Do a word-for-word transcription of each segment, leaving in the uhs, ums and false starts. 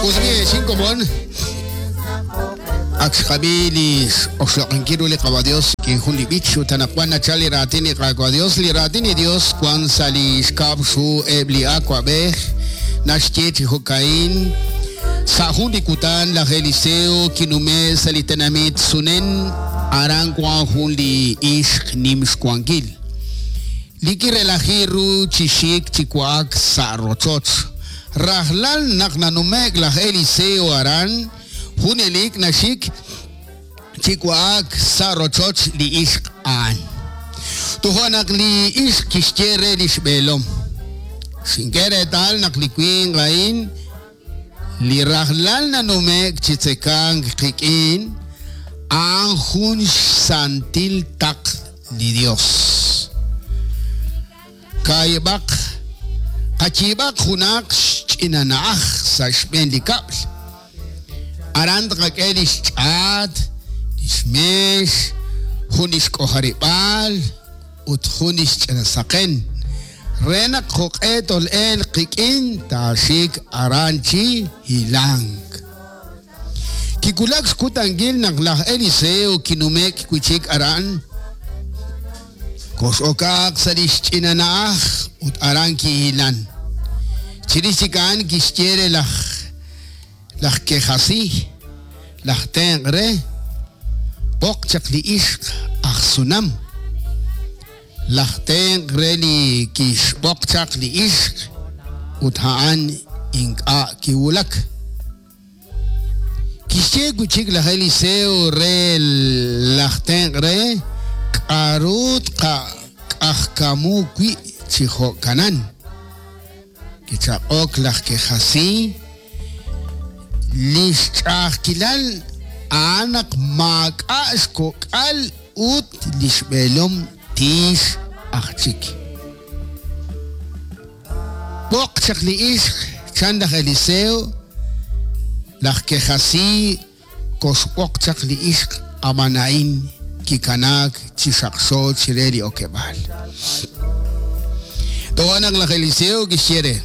Uzbi xinkomon ak xqab'i li oxloq'inkil ru li Qawa Dios kin jun li b'ich ut anaqwan nachal li raatin li Qawa Dios li raatin li Dios wan sa' li xkab' xhu eb' li awab'ej naxye chi jo'ka'in sa' jun li kutan laj Eliseo kinume' sa' li tenamit Sunen aran wan jun li ixq nim xwankil li kirelaji ru chi xik chi wa'ak sa' rochoch rajlal naq nanume'k laj Eliseo aran junelik naxik chi wa'ak sa' rochoch li ixq a'an. Toja' naq li ixq kixye re li xb'eelom xink'e reetal naq li winq a'in li rajlal nanume'k chi tzekank qik'in a'an jun xsantil taq li Dios. Kaayib'aq qayiib'aq junaq xch'ina na'aj sa' xb'een li kab'l aran tqak'e li xch'aat, li xmeex, jun li xk'ojarib'aal ut jun li xch'ina saqen re naq jo'q'e tol'el qik'in taaxik aran chi hilank. Kiwulak xkutankil naq laj Eliseo kinume'k wi' chik aran kox'okaq sa' li xch'ina na'aj ut aran kihilan. Chirix chik a'an kixye re laj laj Kejasí laj tenq' re b'oq chaq li ixq aj Sunam laj tenq' re li kixb'oq chaq li ixq ut a'an ink'a' kiwulak. Kixye wi' chik laj Eliseo re laj tenq' re k'a'ru tqak'ajkamu wi' chi jo'kanan. Kichaq'ok laj Kejasí li xch'a'ajkilal a'an naq maak'a' xkok'al ut li xb'eelom tiix aj chik. B'oq chaq li ixq chan laj Eliseo laj Kejasí koxb'oq chaq li ixq ab'an a'in kikanaak chi xaqxo chire li okeb'aal. Toja' naq laj Eliseo kixye re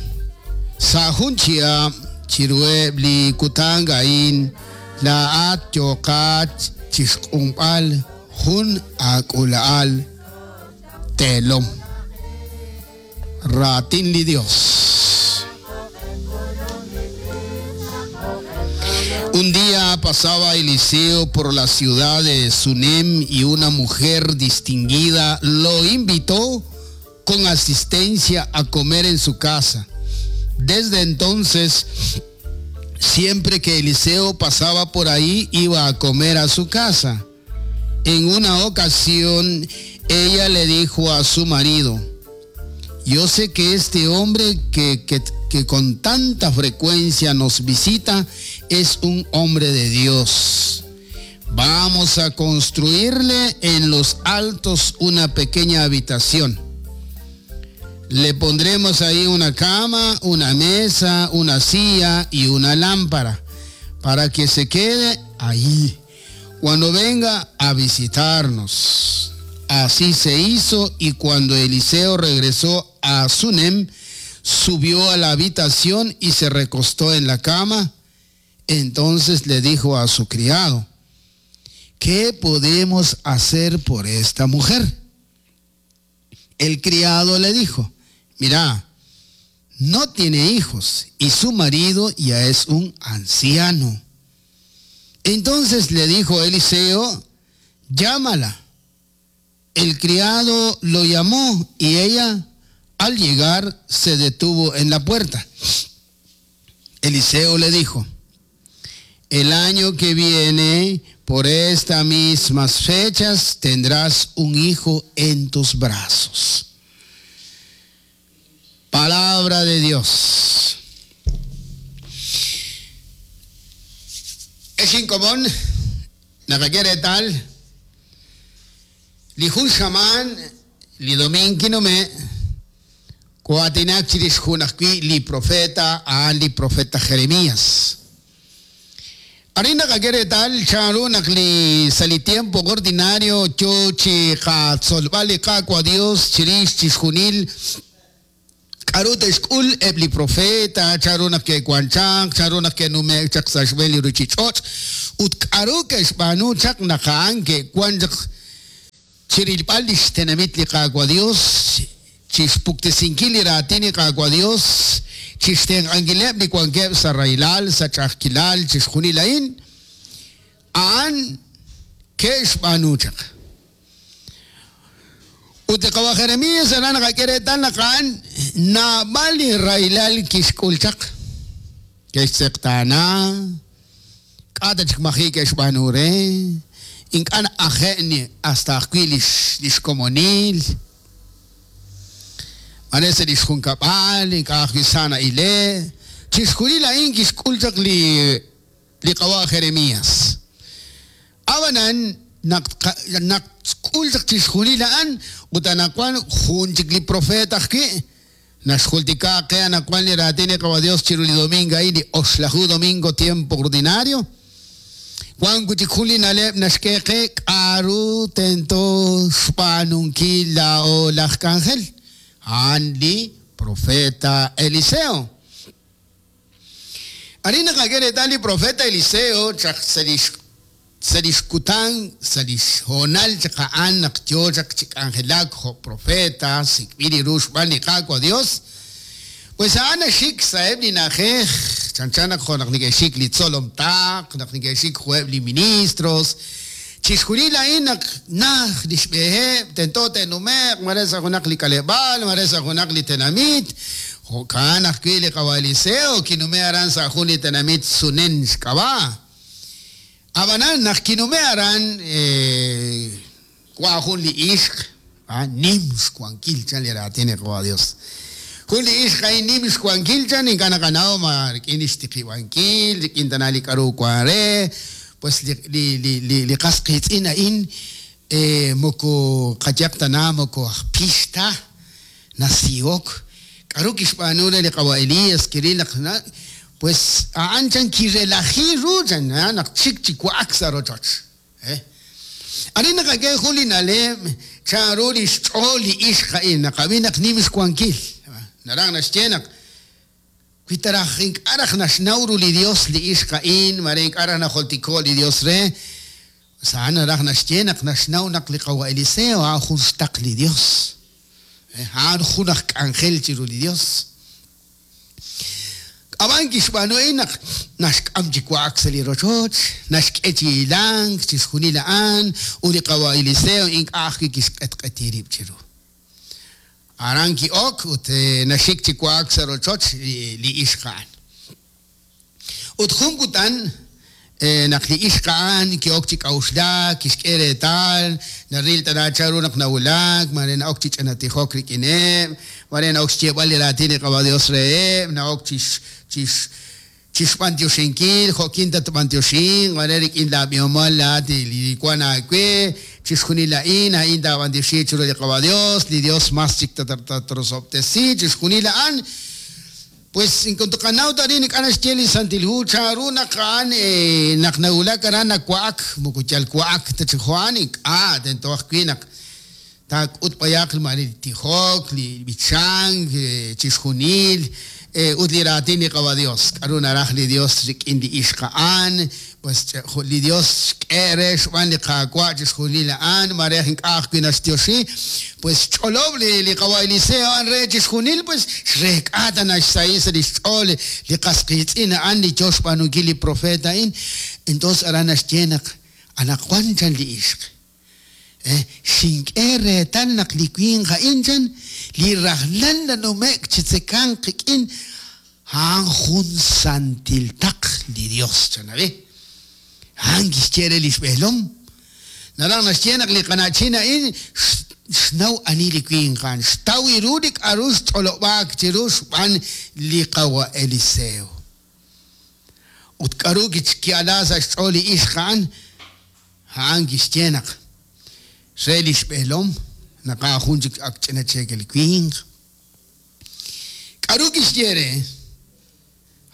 sa' jun chihab' chiruheb' li kutan a'in laa'at yooqat chi xq'unb'al jun aak'ula'al teelom. Raatin li Dios. Un día pasaba Eliseo por la ciudad de Sunem y una mujer distinguida lo invitó con asistencia a comer en su casa. Desde entonces, siempre que Eliseo pasaba por ahí, iba a comer a su casa. En una ocasión, ella le dijo a su marido: yo sé que este hombre que, que, que con tanta frecuencia nos visita es un hombre de Dios. Vamos a construirle en los altos una pequeña habitación. Le pondremos ahí una cama, una mesa, una silla y una lámpara para que se quede ahí cuando venga a visitarnos. Así se hizo, y cuando Eliseo regresó a Sunem, subió a la habitación y se recostó en la cama. Entonces le dijo a su criado: ¿qué podemos hacer por esta mujer? El criado le dijo: mira, no tiene hijos y su marido ya es un anciano. Entonces le dijo Eliseo: llámala. El criado lo llamó y ella, al llegar, se detuvo en la puerta. Eliseo le dijo: el año que viene, por estas mismas fechas, tendrás un hijo en tus brazos. Palabra de Dios. Es incomún, la que tal. Li jun xaman, li dominkinome, kuatinak chirix jun ajwi' li profeta, a'an li profeta Jeremías. Arin naqak'e reetal chanru naq li sa' li tiempo ordinario yo chi qatzolb'al li Qaawa' Dios chirix chixjunil K'aru te'xk'ul eb' li profeta, chanru naq ke'wan chaq, chanru naq ke'nume'k chaq sa' xb'een li ruuchich'och', ut k'aru ke'xb'aanu chaq naq a'an ke'wan chaq chirilb'al li xtenamit li Qaawa' Dios, chixpuktesinkil li raatin li Qaawa' Dios, chixtenq'ankileb' li wankeb' sa' rahilal, sa' ch'a'ajkilal, chixjunil a'in, a'an ke'xb'aanu chaq. Ut li qawa Jeremías aran naqak'e reetal naq a'an naab'al li rahilal kixk'ul chaq. Ke'xtz'eqtaana, k'a' ta chik maji' ke'xb'aanu re, ink'a' na'aje' hasta ajwi' lix lix komonil, mare sa' lix junkab'al, ink'a' ajwi' sa na'ile', chixjunil a'in kixk'ul chaq li li qawa Jeremías. Ab'anan naq naq k'ul chaq chixjunil a'an, ut anaqwan jun chik li profeta ajwi', naxjultika qe anaqwan li raatin li Qawa Dios chiru li domingo a'in, li oxlaju domingo tiempo ordinario. Wan wi' chik jun li na'leb' naxk'e qe k'aru tento xb'aanunkil laa'o laj k'anjel, a'an li profeta Eliseo. Arin naqak'e reetal li profeta Eliseo chaq sa' lix sa' lix kutan, sa' lix honal chaq a'an naq yo chaq chi k'anjelak jo' profeta, sik'b'il li ru xb'aan li Qaawa' Dios, pues a'an naxik sa'eb' li na'ajej, chanchan naq jo' naq neke'xik li tzolom taq, naq neke'xik jo'eb' li ministros, chixjunil a'in naq naj li xb'eheb', tento te'nume'q, mare sa' junaq li k'aleb'aal, mare sa' junaq li tenamit. Jo'kan ajwi' li Qawa Eliseo kinume' aran sa' jun li tenamit Sunen xk'ab'a'. Ab'anan naq kinume' aran wa jun li ixq, nim xwankil chan li raatin li Qawa Dios. Jun li ixq a'in nim xwankil chan ink'a' naqanaw ma rik'in li xtiqib'ankil, rik'in tana li k'aru wan re, pues li li li li li qas qiitz'in a'in moko qayaq tana moko aj pix ta nasihok. K'aru kixb'aanu re li Qawa Elías kiril naq pues a'an chan kirelaji ru chan naq chik chi wa'ak sa' rochoch. Arin naqak'e jun li na'leb' chanru li xch'ool li ixq a'in naqab'i naq nim xwankil. Naraj naxye naq wi taraj ink'a' raj naxnaw ru li Dios li ixq a'in, mare ink'a' raj najoltiko' li Dios re, a'an naraj naxye naq naxnaw naq li Qawa Eliseo a'an jun xtaq li Dios. A'an jun aj k'anjel chiru li Dios. Ab'an kixb'aanu a'in naq naxk'am chi wa'ak sa' li rochoch, naxk'e chi hilank, chixjunil a'an, ut li Qawa Eliseo ink'a' ajwi' kixq'etq'eti rib' chiru. Aran ki'ok ut naxik chi wa'ak sa' rochoch li ixq a'an. Ut jun kutan naq li ixq a'an ki'ok chi k'a'uxlak, kixk'e reetal, naril tana chanru naq nawulak, mare na'ok chi ch'anatijok rik'ineb', mare na'ok xyeeb'al li raatin li Qawa Dios reheb', na'ok chix chix chixb'antioxinkil, jo'kin tatb'antioxin, mare rik'in laab'ihomal laat li wan aawe, chixjunil a'in, a'in taab'antioxi chiru li Qawa Dios, li Dios mas chik tatrosob'tesi, chixjunil a'an. Pues en cuanto qanaw tarin ink'a' naxye li Santil Hu chanru naq a'an naq nawulak aran nawa'ak, moko yal wa'ak ta chi jo'an ink'a' tento ajwi' naq taak'ut b'ayaq mare li tijok, li b'ichank, chixjunil, ut li raatin li Qawa Dios. K'aru naraj li Dios rik'in li ixq a'an, pues li Dios xk'e re xb'aan li Qaawa' chixjunil a'an, mare ink'a' ajwi' naxtioxi, pues xch'olob' li li Qawa Eliseo a'an re chixjunil, pues xreek'a ta naxsahi sa' li xch'ool li qas qiitz'in a'an li yo xb'aanunkil li profeta a'in. Entonces aran naxye naq anaqwan chan li ixq. Xink'e reetal naq li winq a'in chan li rajlal nanume'k chi tzekanq qik'in a'an jun santil taq li Dios chan ab'i. A'an kixye re li xb'eelom. Naraj naxye naq li qana'chin a'in xnaw ani li winq a'an, xtaw ru li k'aru xch'olob'aak chiru xb'aan li Qawa Eliseo. Ut k'aru ki'ala sa' xch'ool li ixq a'an, a'an kixye naq re li xb'eelom naq a'an jun chik ak ch'ina cheekel winq. K'aru kixye re?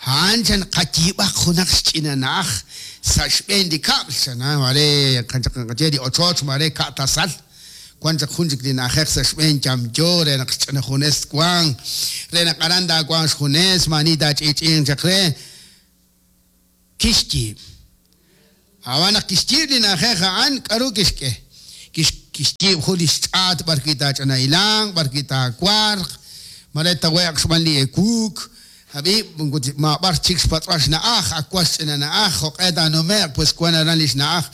A'an chan qayiib'aq junaq xch'ina na'aj sa' xb'een li kab'l, chan mare qaye li ochoch mare ka'tasal, wan chaq jun chik li na'ajej sa' xb'een yamyo re naq xch'ina junes wank re naq aran taawanq xjunes maani taach'i'ch'i'inq chaq re kixyiib'. Ab'an naq kixyiib' li na'ajej a'an k'aru kixk'e? Kixyiib' jun li xch'aat b'ar wi' taach'ina hilanq, b'ar wi' taawarq, mare tawe'q xb'aan li ewuuk. Hab'i' ma b'ar chik xpatz'b'al xna'aj, ak wan xch'ina na'aj, jo'q'e taanume'q pues wan aran li xna'aj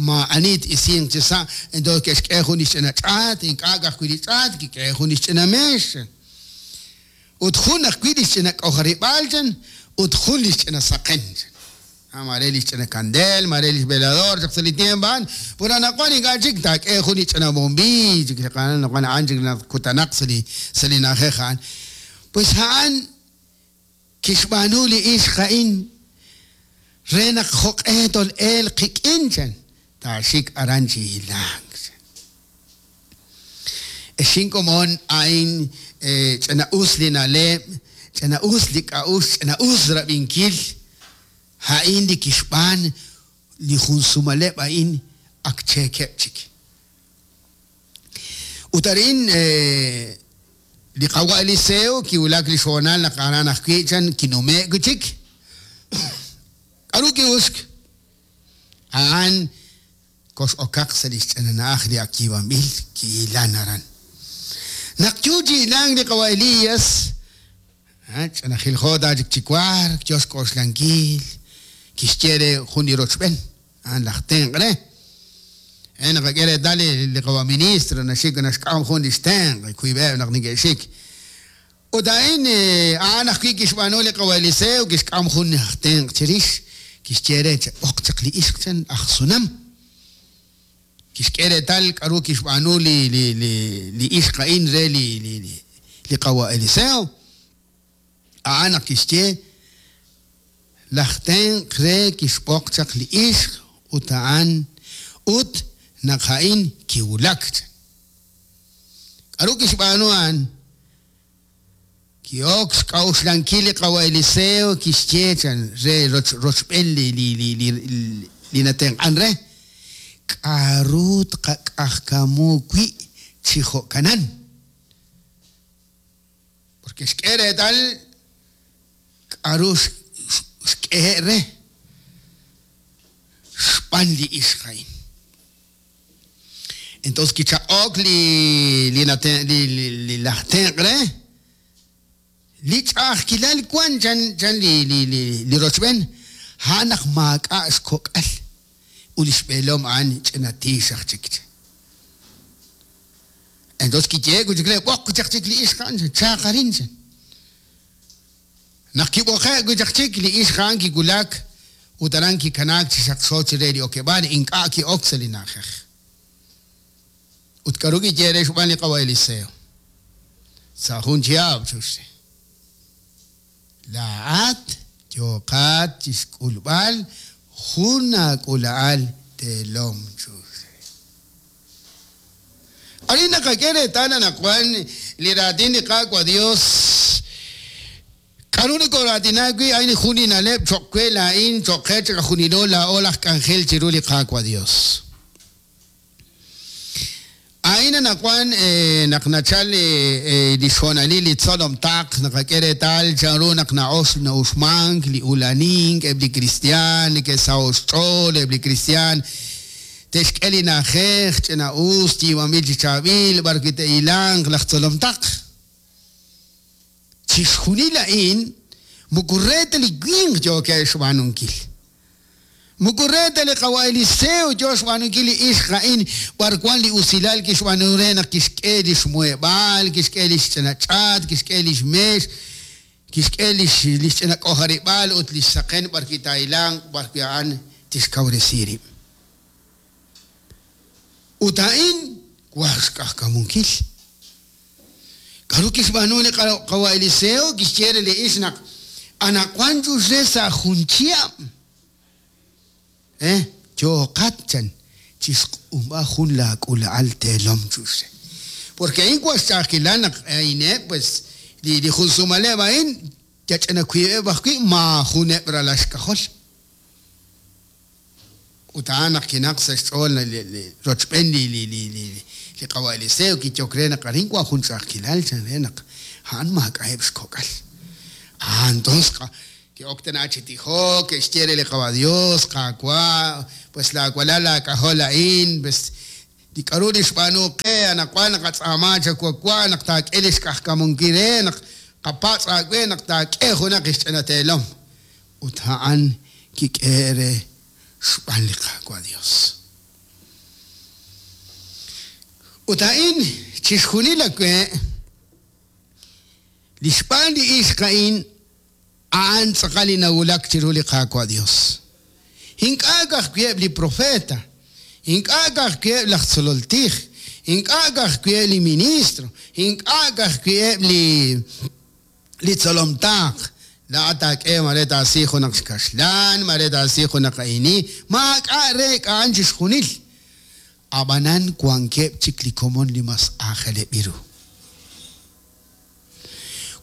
maa'ani t-isinq chi sa'. Entonces ke'xk'e jun li xch'ina ch'aat, ink'a' ka'ajwi' li ch'aat, kik'e jun li xch'ina meex. Ut jun ajwi' li xch'ina k'ojarib'aal chan ut jun li xch'ina saqen chan. Mare li xch'ina kandeel, mare li xvelador chaq sa' li tiempo a'an. Pur anaqwan ink'a' chik taak'e jun li ch'ina bombillo chik a'an a'an chik kutanaq sa' li sa' li na'ajej a'an. Pues a'an kixb'aanu li ixq a'in re naq jo'q'e tol'elq qik'in chan taaxik aran chi hilank chan. Ex inkomon a'in ch'ina us li na'leb', ch'ina us li k'a'uxl, ch'ina us rab'inkil a'in li kixb'aan li jun sumaleb' a'in ak cheekeb' chik. Ut arin li qawa' Eliseo kiwulak li xhoonal naq aran ajwi' chan kinume'k wi' chik. K'aru ki'uxk? A'an kox'okaq sa' li xch'ina na'aj li ak yiib'anb'il kihilan aran. Naq yo chi hilank li qawa' Elías, ch'ina jiljo taachik chi wark, yo xk'oxlankil, kixye re jun li rochb'en, a'an laj tenq' re. Naqak'e reetal li qawa' ministro naxik naxk'am jun li xtenq' wiib'eb' naq neke'xik. Ut a'in a'an ajwi' kixb'aanu li qawa' Eliseo kixk'am jun aj tenq' chirix, kixye re b'oq chaq li ixq chan aj Sunam. Kixk'e reetal k'aru kixb'aanu li li li li ixq a'in re li li li qawa' Eliseo. A'an naq kixye laj tenq' re kixb'oq chaq li ixq ut a'an ut naq a'in kiwulak chan. K'aru kixb'aanu a'an? Ki'ok xk'a'uxlankil li qawa' Eliseo kixye chan re rochb'en li li li li li natenq'an re. K'aru tqak'ajkamu wi' chi jo'kanan? Porque xk'e reetal k'aru xk'ehe' re xb'aan li ixq a'in. Entonces kichaq'ok li li li li laj tenq' re li ch'a'ajkilal wan chan chan li li li li rochb'en a'an naq maak'a' xkok'al ut li xb'eelom a'an ch'ina tiix aj chik. Entonces kiye'k wi' chik re b'oq wi' chaq chik li ixq a'an chaaq arin chan. Naq kib'oqe' wi' chaq chik li ixq a'an kiwulak ut aran kikanaak chi xaqxo chire li okeb'aal ink'a' ki'ok sa' li na'ajej. Ut k'aru kiye re xb'aan li qawa' Eliseo. Sa' jun chihab' chuxre. Laa'at yooqat chi xk'ulb'al jun aak'ula'al teelom chuxre. Arin naqak'e reetal anaqwan li raatin li Qaawa' Dios. K'aru nikoraatinak wi' a'in jun li na'leb' cho'q we laa'in cho'q qe chiqajunilo laa'o laj k'anjel chiru li Qaawa' Dios. A'in anaqwan naq nachal li xhoonalil li tzolom taq naqak'e reetal chanru naq na'ox na'uxmank li ulanink eb' li kristiaan neke'saho' xch'ool eb' li kristiaan te'xk'e li na'ajej ch'ina us yiib'anb'il chi chaab'il b'ar wi' te'hilanq laj tzolom taq. Chixjunil a'in moko re ta li winq yookeb' xb'aanunkil. Moko re ta li qawa' Eliseo yo xb'aanunkil li ixq a'in b'ar wan li usilal kixb'aanu re naq kixk'e li xmuheb'aal, kixk'e li xch'ina ch'aat, kixk'e li xmeex, kixk'e li xch'ina k'ojarib'aal ut li xsaqen b'ar wi' taahilanq b'ar wi' a'an tixkawresi rib'. Ut a'in war xk'ajkamunkil. K'aru kixb'aanu li qawa' Eliseo kixye re li ixq naq anaqwan chuxre sa' jun chihab'. Eh, yooqat chan chi xq'unb'a jun laak'ula'al teelom chuxre. Porque a'in wan xch'a'ajkilal naq a'ineb' pues li li jun sumaleb' a'in yach'ina wiib'eb' ajwi' maajuneb' ralal xk'ajol. Ut a'an naq kinaq sa' xch'ool rochb'een li li li li li qawa' Eliseo kiyok re naq arin wan jun ch'a'ajkilal chan re naq a'an maak'a'eb' xkok'al. Ah, entonces ke'ok tana chi tijok, ke'xye re li qawa' Dios, Qaawa', pues laawalal laak'ajol a'in, pues li k'aru li xb'aanu qe anaqwan naqatz'aama chawawa' naq taak'e li xk'ajkamunkil re naq qapatz' aawe naq taak'e junaq xch'ina teelom. Ut a'an kik'e re xb'aan li Qaawa' Dios. Ut a'in chixjunil awe li xb'aan li ixq a'in a'an tz'aqal li nawulak chiru li Qaawa' Dios. Ink'a' ka'ajwi' li profeta, ink'a' ka'ajwi' laj tzolol tij, ink'a' ka'ajwi' li ministro, ink'a' ka'ajwi' li li tzolom taaq. Laa'at taak'e mare taasi junaq xkaxlan, mare taasi junaq a'ini, maak'a' re k'a'an chixjunil. Ab'anan wankeb' chik li komon li mas aajeleb' ru.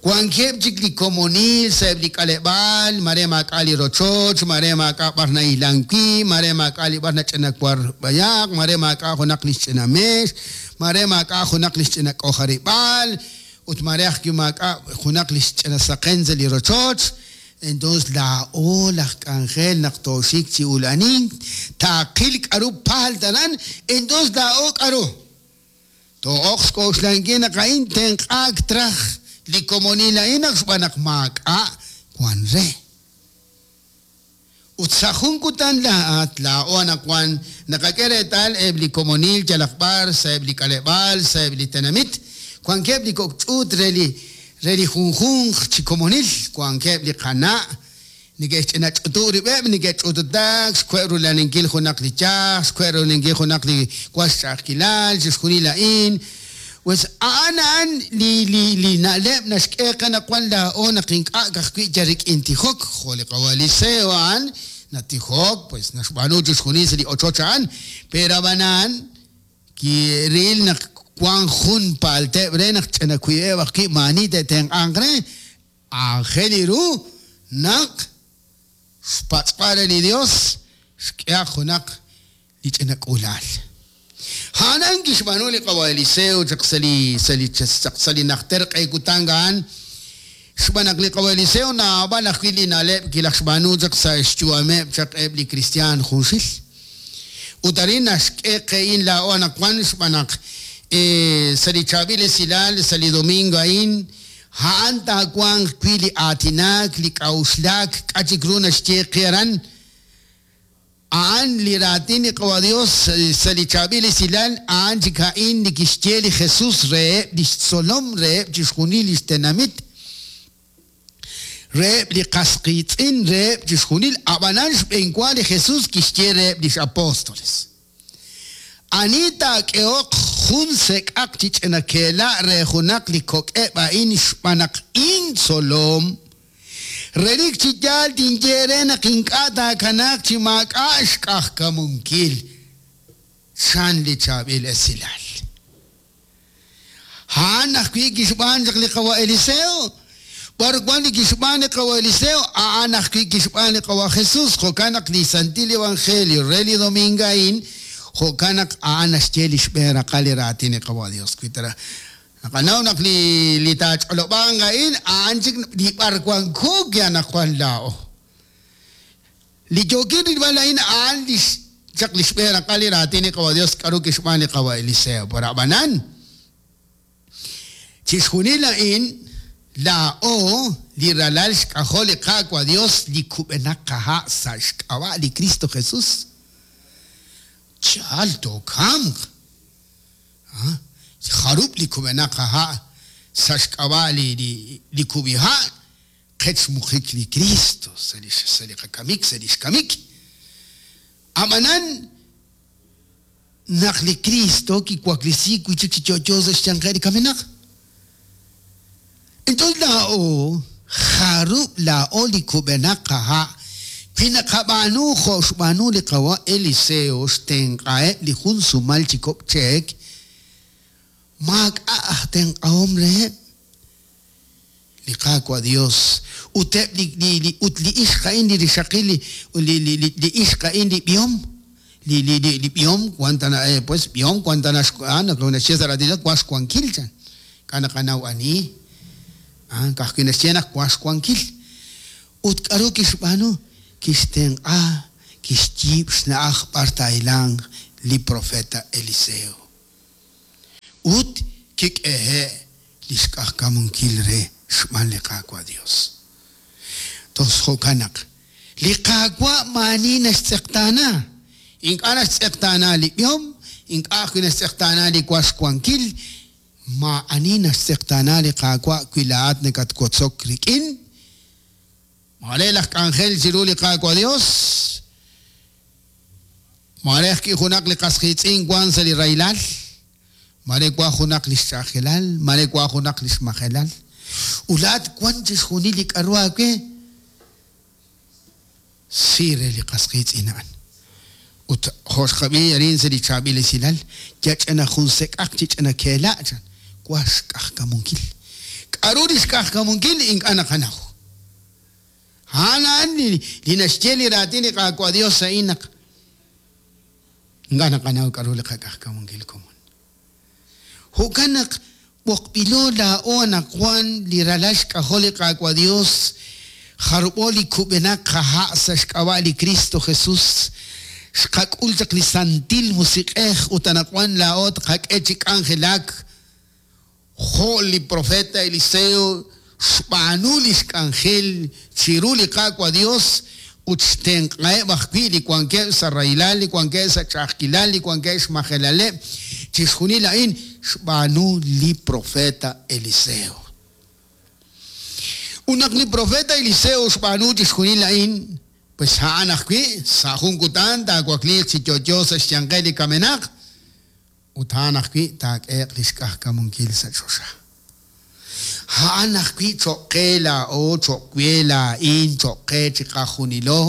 Wankeb' chik li komonil sa' eb' li k'aleb'aal, mare maak'a' li rochoch, mare maak'a' b'ar nahilan wi', mare maak'a' li b'ar nach'ina war b'ayaq, mare maak'a' junaq li xch'ina meex, mare maak'a' junaq li xch'ina k'ojarib'aal, ut mare ajwi' maak'a' junaq li xch'ina saqen sa' li rochoch. Entonces laa'o laj k'anjel naq tooxik chi ulanink, taaqil k'aru paalt aran, entonces laa'o k'aru. Too'oq xk'oxlankil naq a'in tenq'aak traj li komonil a'in naq xb'aan naq maak'a' wan re. Ut sa' jun kutan laa'at laa'o anaqwan naqak'e reetal eb' li komonil yalaq b'ar sa' eb' li k'aleb'aal sa' eb' li tenamit, wankeb' li kok' ch'uut re li re li junjunq chi komonil, wankeb' li qana' neke'xch'ina ch'utu' rib'eb', neke'ch'ututak, xkwe' rulaninkil junaq li yaj, xkwe' rulaninkil junaq li wan xch'a'ajkilal, chixjunil a'in. Pues a'an a'an li li li na'leb' naxk'e qe naq wan laa'o naq ink'a' ka'ajwi' yal rik'in tijok, jo' li qawa' Eliseo a'an natijok, pues naxb'aanu chixjunil sa' li ochoch a'an, pero ab'anan kiril naq wan jun paalteb' re naq ch'ina wiib'eb' ajwi' maani te'tenq'anq re, aajel ru naq xpatz'b'al re li Dios xk'ehaq junaq li ch'ina k'uulaal. A'an kixb'aanu li qawa' Eliseo chaq sa' li sa' li sa' li najter q'e kutan a'an, xb'aan naq li qawa' Eliseo naab'al ajwi' li na'leb' kilaj xb'aanu chaq sa' xyu'ameb' chaq eb' li kristiaan junxil. Ut arin naxk'e qe'in laa'o anaqwan xb'aan naq sa' li chaab'il esilal sa' li domingo a'in, a'an taawanq wi' li aatinaak, li k'a'uxlaak, k'a' chik ru naxye qe aran. A'an li raatin li qawa' Dios sa' li chaab'il esilal, a'an chik a'in li kixye li Jesus reheb' li xtzolom reheb' chixjunil li xtenamit, reheb' li qas qiitz'in reheb' chixjunil, ab'anan xb'eenwa li Jesus kixye reheb' lix apóstoles. Ani taak'ehoq jun sek'aq chi ch'ina keela' re junaq li kok'eb' a'in xb'aan naq intzolom, relik chi yaal tinye re naq ink'a' taakanaaq chi maak'a' xk'ajkamunkil, chan li chaab'il esilal. A'an ajwi' kixb'aan chaq li qawa' Eliseo, b'ar wan li kixb'aan li qawa' Eliseo, a'an ajwi' kixb'aan li qawa' Jesus, jo'kan naq li Santil Evangelio re li domingo a'in, jo'kan naq a'an naxye li xb'een raqal li raatin li qawa' Dios. Wi tara naqanaw naq li li taach'olob'anq a'in, a'an chik li b'ar wanko anaqwan laa'o. Li yookin rilb'al a'in a'an li chaq li xb'een raqal li raatin li qawa' Dios k'aru kixb'aan li qawa' Eliseo. Pero ab'anan chixjunil a'in laa'o li ralal xk'ajol li Qaawa' Dios li kub'enaq qaha' sa' xk'ab'a' li Cristo Jesus. Chal tookamq. Jarub' li kub'enaq qaha' sa' xk'ab'a' li li li kub'iha' qech xmuqik li Cristo sa' li sa' li qakamik sa' li xkamik. Ab'anan naq li Cristo kiwaklesiik wi' chik chi yo'yo sa' xyanqeb' li kamenaq. Entonces laa'o jarub' laa'o li kub'enaq qaha' wi naqab'aanu jo' xb'aanu li qawa' Eliseo xtenq'aheb' li jun sumal chi kok' cheek, maak'a' aj tenq'ahom reheb' li Qaawa' Dios ut eb' li li li ut li ixq a'in li rixaqil li li li li ixq a'in li b'ihom li li li li b'ihom wan tana eh, pues b'ihom wan tana x'an naxye sa' raatin wan xwankil chan k'a naqanaw ani ah ka'ajwi' naxye naq wan xwankil ut k'aru kixb'aanu kixtenq'a kixyiib' xna'aj b'ar taahilanq li profeta Eliseo ut kik'ehe' li xk'ajkamunkil re xb'aan li Qaawa' Dios. Tos jo'kan naq li Qaawa' maani naxtz'eqtaana ink'a' naxtz'eqtaana li b'ihom ink'a' ajwi' naxtz'eqtaana li wan xwankil maa'ani naxtz'eqtaana li Qaawa' wi laa'at nakatwotzok rik'in mare laj k'anjel chiru li Qaawa' Dios mare ajwi' junaq li qas qiitz'in wan sa' li rahilal mare wan junaq li xch'a'ajilal mare wan junaq li xmajelal ut laa'at wan chixjunil li k'aru aawe si re li qas qiitz'in a'an ut jo' xqab'i arin sa' li chaab'il esilal yach'ana jun sek'aq chi ch'ina keela' chan wan xk'ajkamunkil k'aru li xk'ajkamunkil ink'a' naqanaw a'an a'an li li naxye li raatin li Qaawa' Dios a'in naq ink'a' naqanaw k'aru li qak'ajkamunkil komon jo'kan naq b'oqb'ilo laa'o anaqwan li ralal xk'ajol li Qaawa' Dios jarub'o li kub'enaq qaha' sa' xk'ab'a' li Cristo Jesus xqak'ul chaq li Santil Musiq'ej ut anaqwan laa'o tqak'e chi k'anjelak jo' li profeta Eliseo xb'aanu li xk'anjel chiru li Qaawa' Dios ut xtenq'aheb' ajwi' li wankeb' sa' rahilal li wankeb' sa' ch'a'ajkilal li wankeb' xmajelaleb' chixjunil a'in xb'aanu li profeta Eliseo. Ut naq li profeta Eliseo xb'aanu chixjunil a'in pues a'an ajwi' sa' jun kutan taawakliiq chi yo'yo sa' xyanqel li kamenaq ut a'an ajwi' taak'eeq li xk'ajkamunkil sa' choxa. A'an ajwi' cho'q qe laa'o cho'q we laa'in cho'q qe chiqajunilo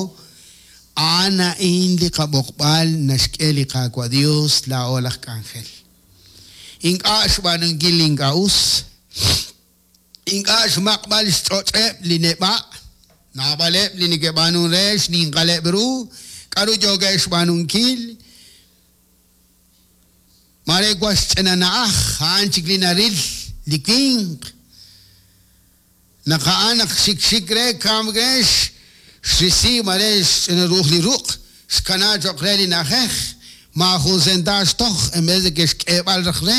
a'an a'in li qab'oqb'al naxk'e li Qaawa' Dios laa'o laj k'anjel. Ink'a' xb'aanunkil li ink'a' us ink'a' xmaq'b'al xch'och'eb' li neb'a' naab'aleb' li neke'b'aanun re xninqaleb' ru k'aru yookeb' xb'aanunkil mare wan xch'ina na'aj a'an chik li naril li winq naq a'an naq xikxik re kamk re xrisi mare xch'ina ruuj li ruq' xkana cho'q re li na'ajej maajun sentax toj en vez de que xk'eeb'al raj re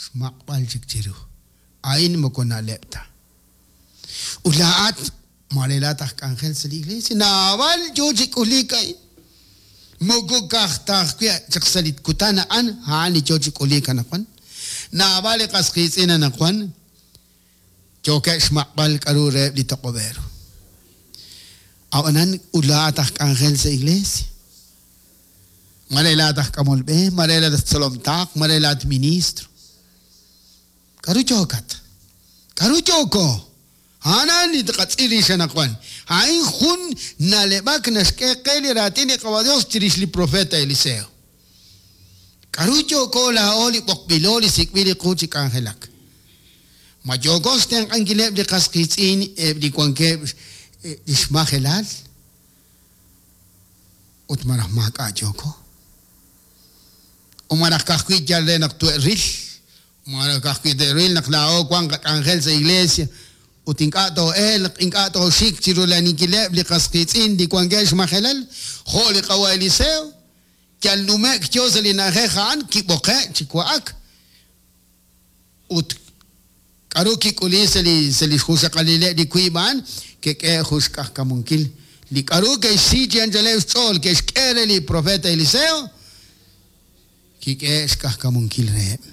xmaq'b'al chik chiru a'in moko na'leb' ta ut laa'at mare laa'at aj k'anjel sa' li iglesia naab'al yo chi k'ulik a'in moko ka'aj ta ajwi' chaq sa' li kutan a'an a'an li yo chi k'ulik anaqwan naab'al li qas qiitz'in anaqwan yookeb' xmaq'b'al k'aru reheb' li toq'ob'ero a'anan ut laa'at aj k'anjel sa' iglesia mare laa'at aj k'amol b'e mare laa'at aj tzolomtaq mare laa'at ministro k'aru yookat k'aru yooko a'an li tqatz'il rix anaqwan a'in jun na'leb'ak naxk'e qe li raatin li Qaawa' Dios chirix li profeta Eliseo k'aru yooko laa'o li b'oqb'ilo li sik'b'il li qu chi k'anjelak ma yooko xtenq'ankileb' li qas qiitz'in eb' li wankeb' li xmajelal ut maraj maak'a' yooko o maraj ka'ajwi' yal re naq tu'ril maraj ka'ajwi' te'ril naq laa'o wan qak'anjel sa' iglesia ut ink'a' too'elq ink'a' tooxik chirulaninkileb' li qas qiitz'in li wankeb' xmajelal jo' li Qaawa' Eliseo yal nume'k yo sa' li na'ajej a'an kib'oqe' chi wa'ak ut k'aru kik'uli sa' li sa' li xjuxaqalileb' li wiib' a'an kek'e jun xk'ajkamunkil li k'aru ke'xsi chi anchaleb' xch'ool ke'xk'e re li profeta Eliseo kik'e xk'ajkamunkil reheb'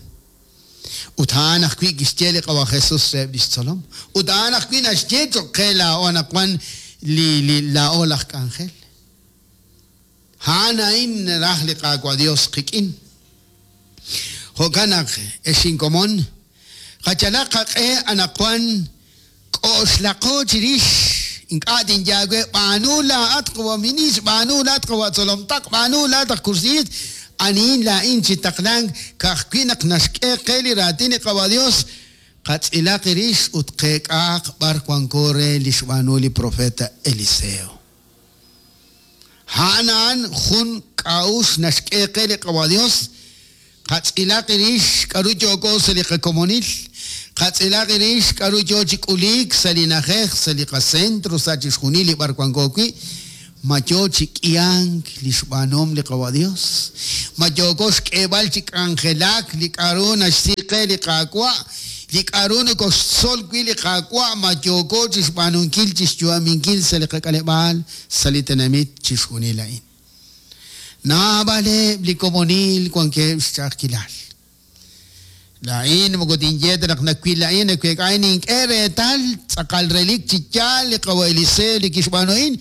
ut a'an ajwi' kixye li Qaawa' Jesus reheb' li xtzolom ut a'an ajwi' naxye cho'q qe laa'o anaqwan li li laa'o laj k'anjel a'an a'in naraj li Qaawa' Dios qik'in jo'kan naq ex inkomon qachalaq qaq'e anaqwan k'oxlaqo chirix ink'a' tinyaawe b'aanu laa'at qawa' ministro b'aanu laa'at qawa' tzolomtaq b'aanu laa'at aj kursiit anihin laa'in chi taqlank ka'ajwi' naq naxk'e qe li raatin li Qaawa' Dios qatz'ilaq rix ut qeek'aaq b'ar wanko re li xb'aanu li profeta Eliseo. A'an a'an jun qak'a'uxl naxk'e qe li Qawa' Dios, qatz'ilaq irix k'aru yooko sa' li qakomonil, qatz'ilaq irix k'aru yo chi k'uliik sa' li na'ajej, sa' li qacentro, sa' chixjunil li b'ar wanko wi', ma yo chi k'ihank li xb'aanuhom li Qawa' Dios, ma yooko xk'eeb'al chi k'anjelak li k'aru naxsi qe li Qaawa', li k'aru nokoxtzol wi' li Qaawa', ma yooko chi xb'aanunkil chi xyu'aminkil sa' li qak'aleb'aal, sa' li tenamit chixjunil a'in. Naab'aleb' li komonil wankeb' xch'a'ajkilal. Laa'in moko tinye ta naq nawil a'in, naweek'a a'in nink'e reetal tz'aqal relik chi yaal li Qawa' Eliseo li kixb'aanu a'in.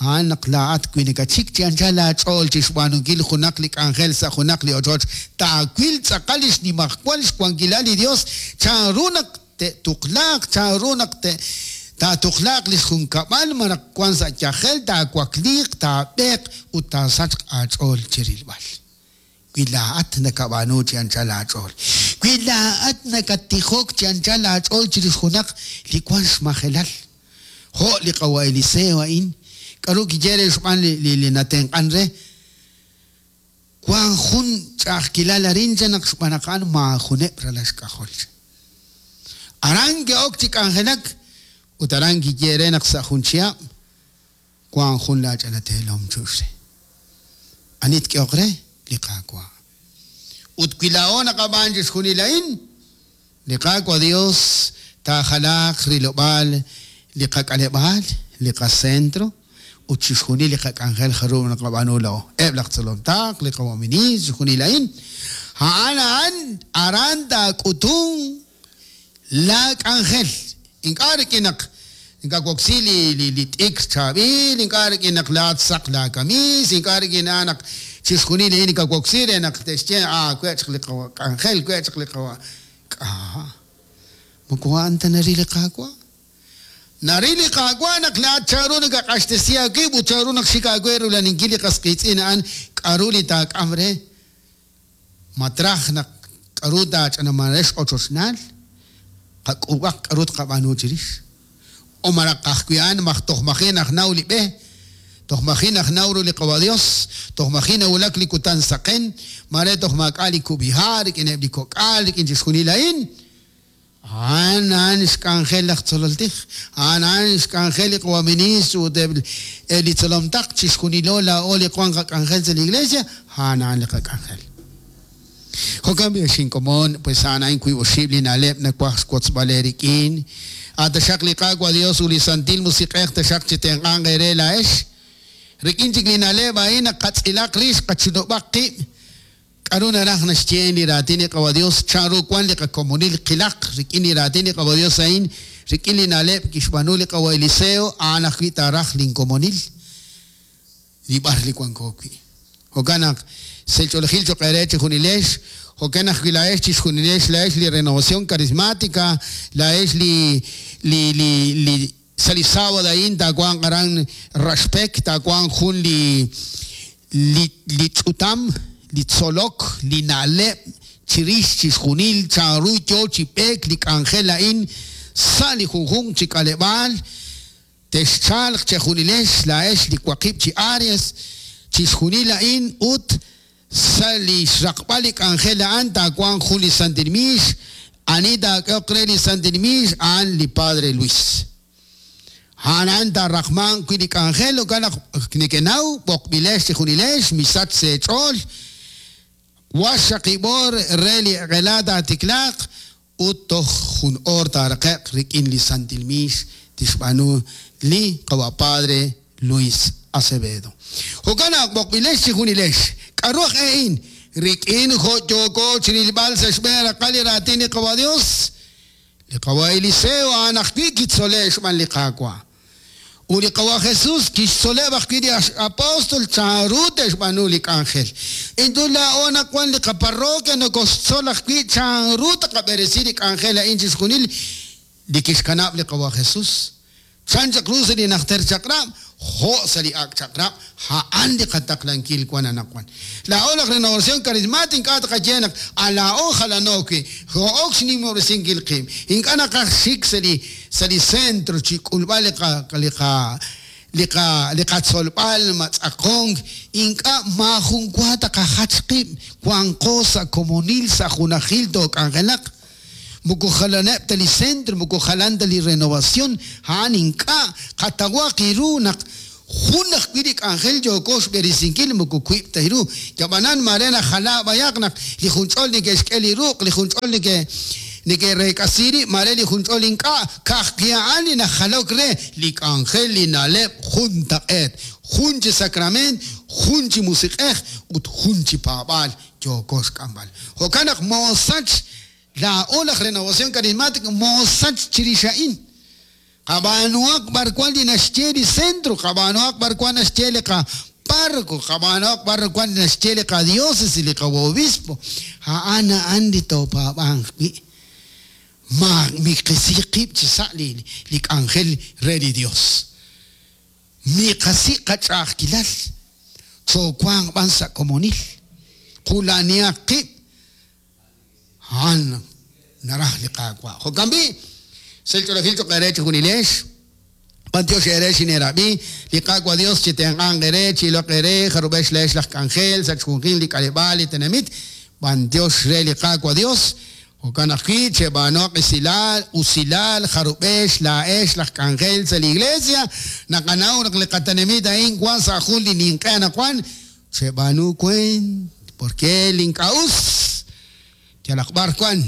A'an naq laa'at wi nakachik chi anchal aach'ool chi xb'aanunkil junaq li k'anjel sa' junaq li ochoch, taawil tz'aqal li xnimajwal xwankilal li Dios, chanru naq te'tuqlaaq, chanru naq te taatuqlaaq li xjunkab'al, ma naq wan sa' yajel, taawakliiq, taab'eeq ut taasachq aach'ool chi rilb'al. Wi laa'at nakab'aanu chi anchal aach'ool. Wi laa'at nakatijok chi anchal aach'ool chirix junaq li wan xmajelal. Jo' li Qawa' Eliseo a'in, k'aru kiye re xb'aan li, li, li natenq'an re, wan jun ch'a'ajkilal arin cha naq xb'aan naq a'an maajuneb' ralal xk'ajol. Aran ke'ok chi k'anjelak ut aran kiye re naq sa' jun chihab' wan jun laach'anateelom chu'x re. Ani tk'eoq re? Li Qaawa'. Ut wi laa'o naqab'aan chixjunil a'in, li Qaawa' Dios taajalaaq rilob'aal li qak'aleb'aal, li qacentro, ut chixjunil li qak'anjel jaru naqab'aanu laa'o. Eb' laj tzolom taq, li qawa' ministro, chixjunil a'in. A'an a'an aran taak'utun la k'anjel. Ink'a' rik'in naq ink'a' woksi li, li, li t'ikr chaab'il, ink'a' rik'in naq laat saq la kamis, ink'a' rik'in naq chixjunil a'in ink'a' woksi re naq te'xye, ah, we' chaq li qawa' k'anjel, we' chaq li qawa' k'a. Moko a'an ta naril li Qaawa'. Naril li Qaawa' naq laat chanru nakaq'axtesi aawib' ut chanru naq xik aawe rulaninkil li qas qiitz'in a'an k'aru li taak'am re. Matraj naq k'aru taach'anamarex ochochnaal, qak'ub'aq k'aru tqab'aanu chirix. O maraq ajwi' a'an maj toj maji' naj naw li b'e, toj maji' naj naw ru li Qawa' Dios, toj maji' nawulak li kutan saqen, mare toj maak'a' li kub'iha' rik'ineb' li kok'al, rik'in chixjunil a'in. A'an a'an xk'anjel laj tzolol tij, a'an a'an xk'anjel li qawa' ministro ut eb' li tzolom taq chixjunilo laa'o li wan qak'anjel sa' li iglesia, a'an a'an li qak'anjel. Jo'kan b'i xinkomon, pues a'an a'in wiib' oxib' li na'leb' nawaj xwotzb'al rik'in. Ataxaq li Qaawa' Dios ut li Santil Musiq'ej taxaq chi tenq'anq eere laa'ex. Rik'in chik li na'leb' a'in naq qatz'ilaq rix qachunub'aq qib'. K'aru naraj naxye li raatin li Qawa' Dios, chanru wan li qakomonil qilaq rik'in li raatin li Qawa' Dios a'in, rik'in li na'leb' kixb'aanu li Qawa' Eliseo, a'an ajwi' taaraj linkomonil li b'ar li wanko wi'. Jo'kan naq selch'oolejil choq' eere chixjunilex, jo'kan ajwi' laa'ex chixjunilex laa'ex li Renovación Carismática, laa'ex li li li li sa' li sábado a'in taawanq aran Raxpek, taawanq jun li li li ch'utam, li tzolok, li na'leb' chirix chixjunil chanru yo chi b'eek li k'anjel a'in sa' li junjunq chi k'aleb'aal, texchalq chejunilex laa'ex li waqib' chi áreas chixjunil a'in ut sa' li xraqb'al li k'anjel a'an taawanq jun li Santil Miix, ani taak'eoq re li Santil Miix a'an li Padre Luis. A'an a'an taaraqmanq wi' li k'anjel, jo'kan naq nekenaw b'oqb'ilex chixjunilex, misach seech'ool, waxaqib'or re li q'ela taatiklaaq ut toj jun oor taaraqe'q rik'in li Santil Miix tixb'aanu li Qawa' Padre Luis Acevedo. Jo'kan naq b'oqb'ilex chixjunilex, k'aru aj e'in rik'in jo' yooko chirilb'al sa' xb'een raqal li raatin li Qawa' Dios, li Qawa' Eliseo a'an ajwi' kitzole' xb'aan li Qaawa'. Ut li Qawa' Jesús kixtzoleb' ajwi' li apóstol chanru te'xb'aanu li k'anjel. Intu laa'o naq wan li qaparroquia nokoxtzol ajwi' chanru taqab'eresi li k'anjel a'in chixjunil li kixkanab' li Qawa' Jesús. Chan chaq ru sa' li najter chaq'rab', jo' sa' li ak' chaq'rab', a'an li qataqlankil wan anaqwan. Laa'o laj Renovación Carismática ink'a' taqaye naq a laa'o jalano wi', jo'ok xnimob'resinkil qib'. Ink'a' naqaj xik sa' li sa' li centro chi k'ulb'al li qa li qa li qa li qatzolb'al matz'aqonk ink'a' maajun wa taqajach qib' wanqo sa' komonil sa' junajil took'anjelaq moko jalaneb' ta li centro moko jalan ta li renovación a'an ink'a' qatawaq iru naq jun ajwi' li k'anjel yooko xb'eresinkil moko wiib' ta iru yab'anan mare najala b'ayaq naq li junch'ol neke'xk'e li ruq' li junch'ol neke' neke'reek'asi rib' mare li junch'ol ink'a' ka'ajwi' a'an li najalok re li k'anjel li na'leb' jun taq'eet jun chi sacrament jun chi musiq'ej ut jun chi paab'aal yooko xk'amb'al jo'kan naq moosach laa'o laj Renovación Carismática moosach chirix a'in qab'aanuhaq b'ar wan li naxye li centro qab'aanuhaq b'ar wan naxye li qa párroco qab'aanuhaq b'ar wan li naxye li qadiócesis li qaobispo a'an a'an li toopaab'anq wi' ma miqisi qib' chi sa' li li k'anjel re li Dios miqasi qach'a'ajkilal choowanq b'an sa' komonil qula'nihaq qib' a'an naraj li Qaawa' jo'kan b'i' sel ch'oolejil choq' eere chi junilex B'antiox eere xineerab'i li Qaawa' Dios chi tenq'anq eere chi iloq eere jarub'ex leex laj k'anjel sa' chjunjil li k'aleb'aal li tenamit b'antiox re li Qaawa' Dios jo'kan ajwi' cheb'aanoq usilal usilal jarub'ex laa'ex laj k'anjel sa' li iglesia naqanaw naq li qatenamit a'in wan sa' jun li ninq'e anaqwan cheb'aanu kuent porque link'a us yalaq b'ar wan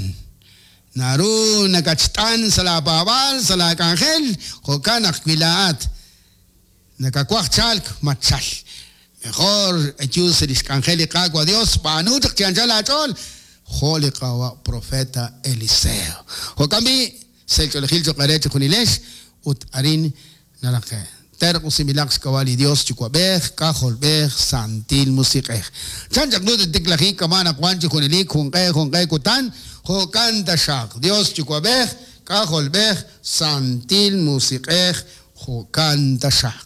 naru nakach'tan sa' la paab'aal sa' la k'anjel jo'kan ajwi' laa'at nakawaj chalk matchal mejor ayu sa' lix k'anjel li Qaawa' Dios b'aanu chaq chi anchal aach'ool jo' li Qaawa' profeta Eliseo jo'kan b'i' sel ch'oolejil choq' eere chi junilex ut arin naraqe terq usimilaq xk'ab'a' li Dios Yuwa'b'ej K'ajolb'ej Santil Musiq'ej chan chaq lu tiklajik kama' naq wan chi junelik junq'e junq'e kutan jo'kan taxaq Dios Yuwa'b'ej K'ajolb'ej Santil Musiq'ej jo'kan taxaq.